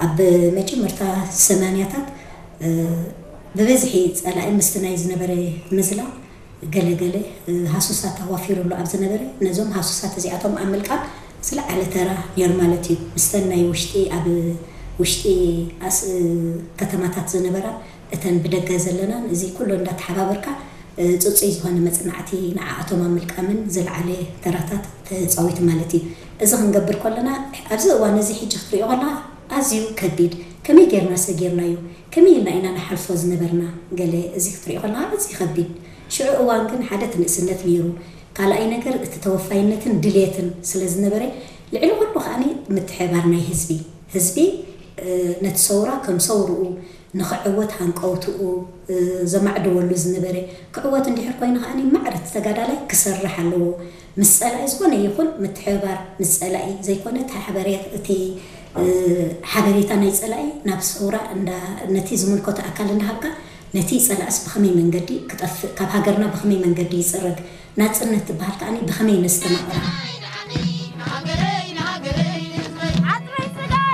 ኣብ መጀመርታ ሰማንያታት ብበዝሒ ጸላኢ ምስቲ ናይ ዝነበረ ምዝላቕ ገለ ገለ ሃሱሳት ኣዋፊሩ ኣሎ ኣብ ዝነበረ፣ ነዞም ሃሱሳት እዚኣቶም ኣብ ምልቃቕ ዝለዓለ ተራ ነይሩ ማለት እዩ። ምስተን ናይ ውሽጢ፣ ኣብ ውሽጢ ኣስ- ከተማታት ዝነበራ፣ እተን ብደገ ዘለናን እዚ ኩሉ እንዳተሓባበርካ ጽጹይ ዝኾነ መጽናዕቲ ንዓኣቶም ኣብ ምልቃምን ዝለዓለ ተራታት ተጻዊቱ ማለት እዩ። እዚ ክንገብር ከለና ኣብዚ እዋን እዚ ሕጂ ክትሪኦ ከለካ ኣዝዩ ከቢድ፣ ከመይ ጌርና ሰጊርናዮ፣ ከመይ ኢልና ኢና ንሓልፎ ዝነበርና፣ ገለ እዚ ክትሪኦ ከለካ ኣዝዩ ከቢድ። ሽዑ እዋን ግን ሓደ እቲ ንእስነት ነይሩ፣ ካልኣይ ነገር እቲ ተወፋይነትን ድልየትን ስለ ዝነበረ፣ ልዕሊ ኩሉ ከዓኒ ምትሕብባር ናይ ህዝቢ፣ ህዝቢ ነቲ ሰውራ ከም ሰውርኡ ንኽዕወት ሃንቀውትኡ ዘማዕድወሉ ዝነበረ፣ ክዕወት እንድሕር ኮይኑ ከዓኒ ማዕረ እቲ ተጋዳላይ ክሰርሕ ኣለዎ። ምስ ጸላኢ ዝኾነ ይኹን ምትሕብባር ምስ ጸላኢ ዘይኮነ፣ እቲ ሓበሬ- እቲ ሓበሬታ ናይ ጸላኢ ናብ ሰውራ እንዳ ነቲ ዝምልከቶ ኣካል እንዳሃብካ፣ ነቲ ጸላእስ ብኸመይ መንገዲ ክጠፍእ፣ ካብ ሃገርና ብኸመይ መንገዲ ይጽረግ፣ ናጽነት ትበሃል ከዓኒ ብኸመይ ነስተማቕራ።